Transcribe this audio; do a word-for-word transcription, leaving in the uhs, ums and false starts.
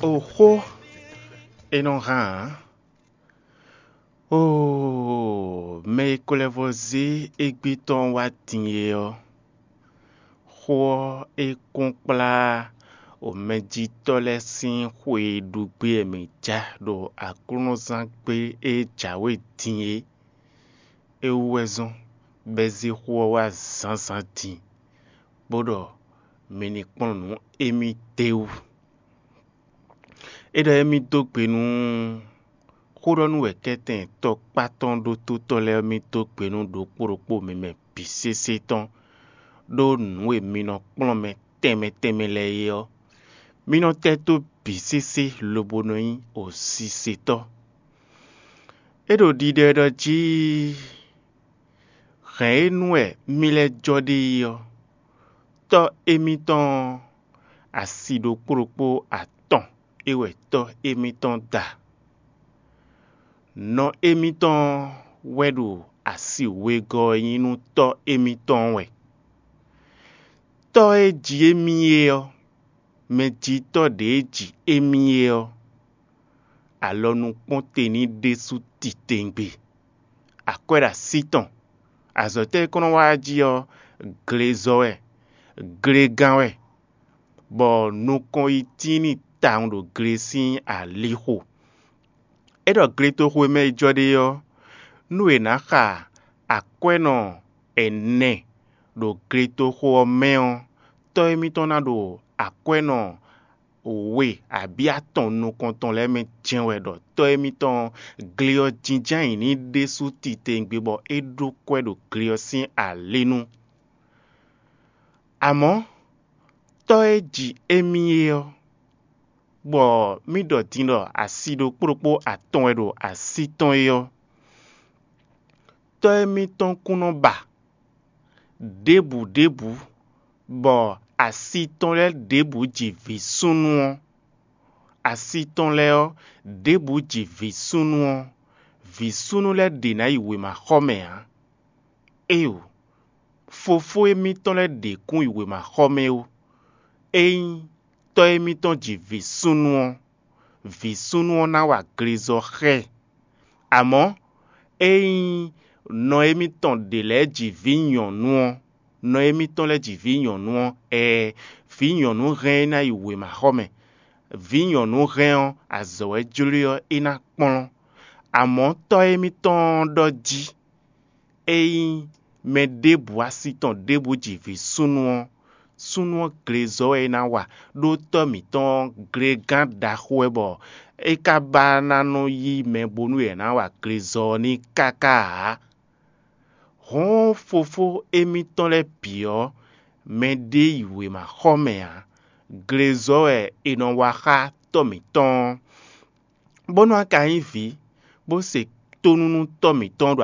Xó e nɔ hán ǎ. Oo, mɛ e ko lɛ́ vɔ́ zé égbé tɔn wá din é ɔ́, xó ɔ́ é kún kplá o mɛjitɔ́ lɛ́ɛ sín xwe e ɖu gbé wɛ mǐ ja ɖo aklúnɔzán gbé e jǎwe din é. É wú wɛ zɔ́n bɔ é zé xó ɔ́ wá zǎnzǎn din, bó ɖɔ mi ní kplɔ́n nǔ émí d'é wú. É ɖɔ émí dó gbe nú xó ɖɔ nú wɛ kɛ́tɛn tɔkpá tɔn ɖótótɔ́ lɛ́ɛ mì dó gbe nú ɖokpó ɖokpó mi mɛ bǐ sésé tɔn, ɖó nǔ e mi nɔ kplɔ́n mɛ tɛnmɛ tɛnmɛ lɛ́ɛ é ɔ́, mi nɔ tɛ́ tó bǐ sésé lobo nɔ nyí osisɛtɔ́. É ɖo ɖiɖɔ ɖɔ jí hɛ̌n e nu wɛ mì lɛ́ jɔ ɖe é ɔ́, tɔ́ émítɔn ɔ́, asi ɖokpó ɖokpó atɔn é wɛ tɔ́ émítɔn da. Nɔ émítɔn wɛ ɖo asi wegɔ́ e nyí nú tɔ́ émítɔn wɛ. Tɔ́ e ji émí é ɔ́, mɛjitɔ́ ɖě e ji émí é ɔ́, alɔ nukpɔ́n te ní ɖésú titewungbe. Akwɛ́ ɖo así tɔn. Azɔ̌ tɛ́ e kɔn nɔ wá jí ɔ́, glezɔ wɛ, glegán wɛ, bɔ nukɔn yi tíin n'i tawun ɖo gle sín alixo. É ɖɔ gletoxo e mɛ yi jɔ ɖe ɔ́, nú è nǎ xa akwɛ́nɔ ɛnɛ ɖo gletoxo ɔ́ mɛ ɔ́, tɔ́ émítɔn ná ɖo akwɛ́nɔ we abǐ atɔn nukɔntɔn lɛ́ɛ mɛ jɛ́n wɛ ɖɔ tɔ́ émítɔn gle ɔ́ jínjɔ́n ayǐ ní ɖésú titewungbe bɔ é ɖó kwɛ́ ɖo gle ɔ́ sín alinu. Amɔ̌, tɔ́ e ji émí é ɔ́, bɔ mì ɖɔ din ɖɔ asi ɖokpó ɖokpó atɔn wɛ ɖo así tɔn é ɔ́, tɔ́ émítɔn kún nɔ ba ɖěbǔ ɖěbǔ, bɔ asi tɔn lɛ́ɛ ɖěbǔ ji vǐ súnnu ɔ́, asi tɔn lɛ́ɛ ɔ́, ɖěbǔ ji vǐ súnnu ɔ́, vǐ súnnu lɛ́ɛ ɖě ná yi wěmaxɔmɛ ǎ. Éeǒ, fofó émítɔn lɛ́ɛ ɖě kún yi wěmaxɔmɛ ó. Ényí tɔ́ émítɔn ji vǐ súnnu ɔ́, vǐ súnnu ɔ́ ná wa glezɔ xá ɛ. Amɔ̌, ényí nɔ émítɔn ɖě lɛ́ɛ ji vǐ nyɔ̌nu ɔ́, nɔ émítɔn lɛ́ɛ ji vǐ nyɔ̌nu ɔ́, ɛɛ, vǐ nyɔ̌nu hɛn é ná yi wěmaxɔmɛ. Vǐ nyɔ̌nu hɛn ɔ́, azɔ̌ wɛ jló ɔ́, é ná kplɔ́n. Amɔ̌, tɔ́ émítɔn ɔ́ ɖɔ jí: Ényí mɛ ɖěbǔ asi tɔn ɖěbǔ ji vǐ súnnu ɔ́, súnnu ɔ́ glezɔ wɛ é ná wa, ɖó tɔ́ mǐtɔn ɔ́, glégán ɖaxó wɛ bɔ é ka ba ná nɔ yí mɛ bónú è nǎ wa glezɔ ɔ́ n'i káká ǎ. Hɔ̌n fofó émítɔn lɛ́ɛ bǐ ɔ́, mɛɖé yi wěmaxɔmɛ ǎ; glezɔ wɛ è nɔ wa xá tɔ́ mǐtɔn ɔ́, bónú a ka nyí vǐ, bó se tónú nú tɔ́ mǐtɔn ɖo